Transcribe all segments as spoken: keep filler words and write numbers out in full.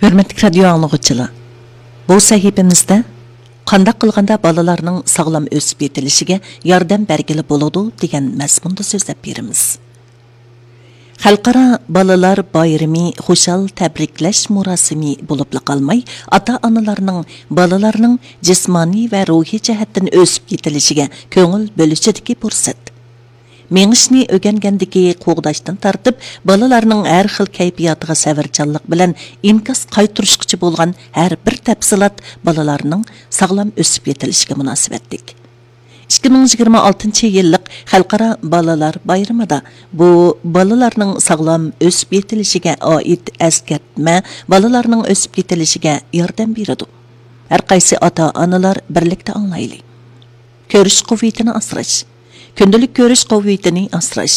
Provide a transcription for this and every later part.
ھۆرمەتلىك رادىيو ئاڭلىغۇچىلار، بۇ سەھىپىمىزدە قانداق قىلغاندا بالىلارنىڭ ساغلام ئۆسۈپ يېتىلىشىگە ياردەم بەرگىلى بولىدۇ دېگەن مەزمۇندا سۆزلەپ بېرىمىز. خەلقئارا بالىلار بايرىمى خۇشال تەبرىكلەش مۇراسىمى بولۇپلا قالماي، ئاتا-ئانىلارنىڭ بالىلارنىڭ جىسمانىي ۋە روھىي جەھەتتىن ئۆسۈپ يېتىلىشىگە كۆڭۈل بۆلۈشىدىكى پۇرسەت. مېڭىشنى ئۆگەنگەندىكى قوغداشتىن تارتىپ، بالىلارنىڭ ھەر خىل كەيپىياتىغا سەۋرچانلىق بىلەن ئىنكاس قايتۇرۇشقىچە بولغان ھەر بىر تەپسىلات بالىلارنىڭ ساغلام ئۆسۈپ يېتىلىشىگە مۇناسىۋەتلىك. ئىككى مىڭ يىگىرمە ئالتىنچى يىللىق خەلقئارا بالىلار بايرىمىدا بۇ بالىلارنىڭ ساغلام ئۆسۈپ يېتىلىشىگە ئائىت ئەسكەرتمە بالىلارنىڭ ئۆسۈپ يېتىلىشىگە ياردەم بېرىدۇ. ھەر قايسى ئاتا-ئانىلار بىرلىكتە ئاڭلايلى. كۆرۈش قۇۋۋىتىنى ئاسراش. كۈندىلىك كۆرۈش قۇۋۋىتىنى ئاسراش.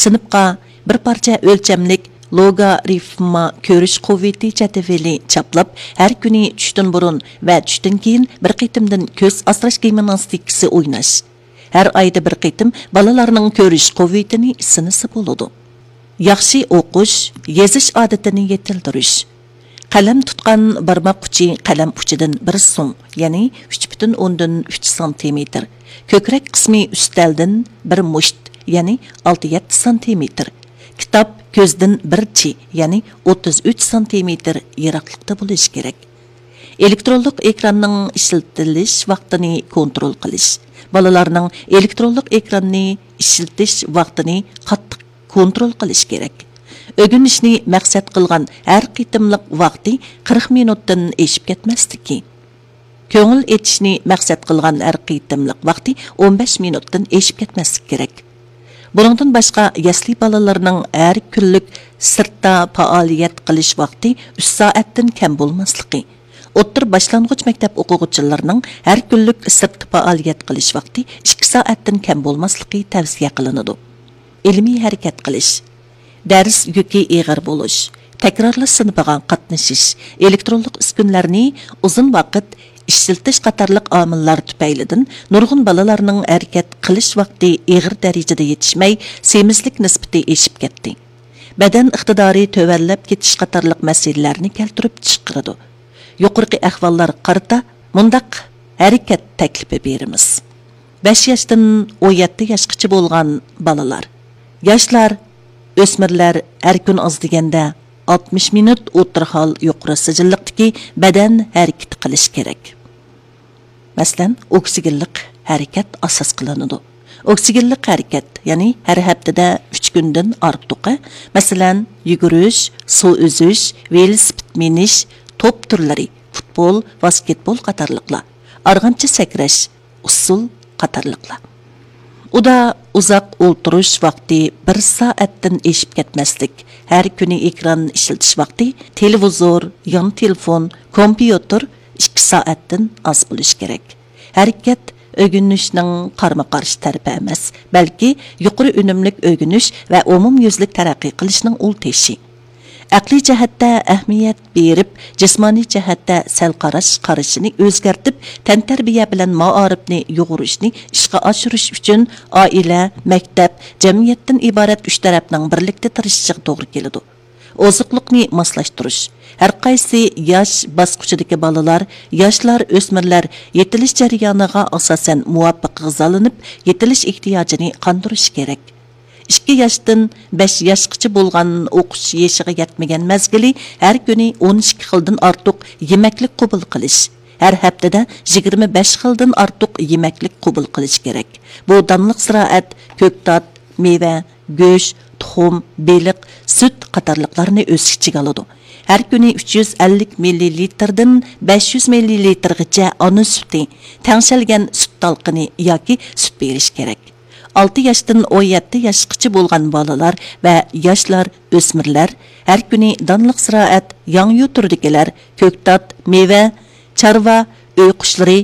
سىنىپقا بىر پارچە ئۆلچەملىك لوگارىفما كۆرۈش قۇۋۋىتى جەدۋىلى چاپلاپ، ھەر كۈنى چۈشتىن بۇرۇن ۋە چۈشتىن كېيىن بىر قېتىمدىن كۆز ئاسراش گىمناستىكىسى ئويناش. ھەر ئايدا بىر قېتىم بالىلارنىڭ كۆرۈش قۇۋۋىتىنى سىنىسا بولىدۇ. ياخشى ئوقۇش، يېزىش ئادىتىنى يېتىلدۈرۈش. قەلەم تۇتقان بارماق ئۇچى قەلەم ئۇچىدىن بىر سۇڭ، يەنى ئۈچ پۈتۈن ئوندىن ئۈچ سانتىمېتىر. كۆكرەك قىسمى ئۈستەلدىن بىر مۇشت، يەنى ئالتە يەتتە سانتىمېتىر. كىتاب كۆزدىن بىر چى، يەنى ئوتتۇز ئۈچ سانتىمېتىر يىراقلىقتا بولۇشى كېرەك. ئېلېكترونلۇق ئېكراننىڭ ئىشلىتىلىش ۋاقتىنى كونترول قىلىش. بالىلارنىڭ ئېلېكترونلۇق ئېكراننى ئىشلىتىش ۋاقتىنى قاتتىق كونترول قىلىش كېرەك. ئۆگىنىشنى مەقسەت قىلغان ھەر قېتىملىق ۋاقتى قىرىق مىنۇتتىن ئېشىپ كەتمەسلىكى. كۆڭۈل ئېچىشنى مەقسەت قىلغان ھەر قېتىملىق ۋاقتى ئون بەش مىنۇتتىن ئېشىپ كەتمەسلىكى كېرەك. بۇنىڭدىن باشقا، يەسلى بالىلىرىنىڭ ھەر كۈنلۈك سىرتتا پائالىيەت قىلىش ۋاقتى ئۈچ سائەتتىن كەم بولماسلىقى، ئوتتۇرا باشلانغۇچ مەكتەپ ئوقۇغۇچىلىرىنىڭ ھەر كۈنلۈك سىرتتا پائالىيەت قىلىش ۋاقتى ئىككى سائەتتىن كەم بولماسلىقى تەۋسىيە قىلىنىدۇ. ئىلمىي ھەرىكەت قىلىش، دەرس يۈكى ئېغىر بولۇش، تەكرارلاش سىنىپىغا قاتنىشىش، ئېلېكترونلۇق ئۈسكۈنىلەرنى ئۇزۇن ۋاقىت ئىشلىتىش قاتارلىق ئامىللار تۈپەيلىدىن نۇرغۇن بالىلارنىڭ ھەرىكەت قىلىش ۋاقتى ئېغىر دەرىجىدە يېتىشمەي، سېمىزلىك نىسبىتى ئېشىپ كەتتى. بەدەن ئىقتىدارى تۆۋەنلەپ كېتىش قاتارلىق مەسىلىلەرنى كەلتۈرۈپ چىقىرىدۇ. يۇقىرىقى ئەھۋاللارغا قارىتا مۇنداق ھەرىكەت تەكلىپى بېرىمىز. بەش ياشتىن ئون يەتتە ياشقىچە بولغان بالىلار. ياشلار، ئۆسمۈرلەر ھەر كۈن ئاز دېگەندە ئاتمىش مىنۇت ئوتتۇرا ھال يۇقىرى سىجىللىقتىكى بەدەن ھەرىكىتى قىلىشى كېرەك. مەسىلەن، ئوكسىگېنلىق ھەرىكەت ئاساس قىلىنىدۇ. ئوكسىگېنلىق ھەرىكەت، يەنى ھەر ھەپتىدە ئۈچ كۈندىن ئارتۇقى، مەسىلەن، يۈگۈرۈش، سۇ ئۈزۈش، ۋېلىسىپىت مىنىش، توپ تۈرلىرى، پۇتبول، ۋاسكېتبول قاتارلىقلار، ئارغامچا سەكرەش، ئۇسسۇل قاتارلىقلار. ئۇدا ئۇزاق ئولتۇرۇش ۋاقتى بىر سائەتتىن ئېشىپ كەتمەسلىك، ھەر كۈنى ئېكران ئىشلىتىش ۋاقتى تېلېۋىزور، يان تېلېفون، كومپيۇتېر ئىككى سائەتتىن ئاز بولۇشى كېرەك. ھەرىكەت ئۆگىنىشنىڭ قارىمۇ قارشى تەرىپى ئەمەس، بەلكى يۇقىرى ئۈنۈملۈك ئۆگىنىش ۋە ئومۇميۈزلۈك تەرەققىي قىلىشنىڭ ئۇل تېشى. ئەقلىي جەھەتتە ئەھمىيەت بېرىپ، جىسمانىي جەھەتتە سەل قاراش قارىشىنى ئۆزگەرتىپ، تەنتەربىيە بىلەن مائارىپنى يۇغۇرۇشنى ئىشقا ئاشۇرۇش ئۈچۈن ئائىلە، مەكتەپ، جەمئىيەتتىن ئىبارەت ئۈچ تەرەپنىڭ بىرلىكتە تىرىشىشىغا توغرا كېلىدۇ. ئوزۇقلۇقنى ماسلاشتۇرۇش. ھەرقايسى ياش باسقۇچىدىكى بالىلار، ياشلار، ئۆسمۈرلەر يېتىلىش جەريانىغا ئاساسەن مۇۋاپىق غىزالىنىپ، يېتىلىش ئېھتىياجىنى قاندۇرۇشى كېرەك. ئىككى ياشتىن بەش ياشقىچە بولغان ئوقۇش يېشىغا يەتمىگەن مەزگىلى ھەر كۈنى ئون ئىككى خىلدىن ئارتۇق يېمەكلىك قوبۇل قىلىش، ھەر ھەپتىدە يىگىرمە بەش خىلدىن ئارتۇق يېمەكلىك قوبۇل قىلىش كېرەك. بۇ دانلىق زىرائەت، كۆكتات، مېۋە، گۆش، تۇخۇم، بېلىق، سۈت قاتارلىقلارنى ئۆز ئىچىگە ئالىدۇ. ھەر كۈنى ئۈچ يۈز ئەللىك مىللىلىتىردىن بەش يۈز مىللىلىتىرغىچە ئانا سۈتى، تەڭشەلگەن سۈت تالقىنى ياكى سۈت بېرىش كېرەك. ئالتە ياشتىن ئون يەتتە ياشقىچە بولغان بالىلار ۋە ياشلار، ئۆسمۈرلەر ھەر كۈنى دانلىق زىرائەت، ياڭيۇ تۈرىدىكىلەر، كۆكتات، مېۋە، چارۋا، ئۆي قۇشلىرى،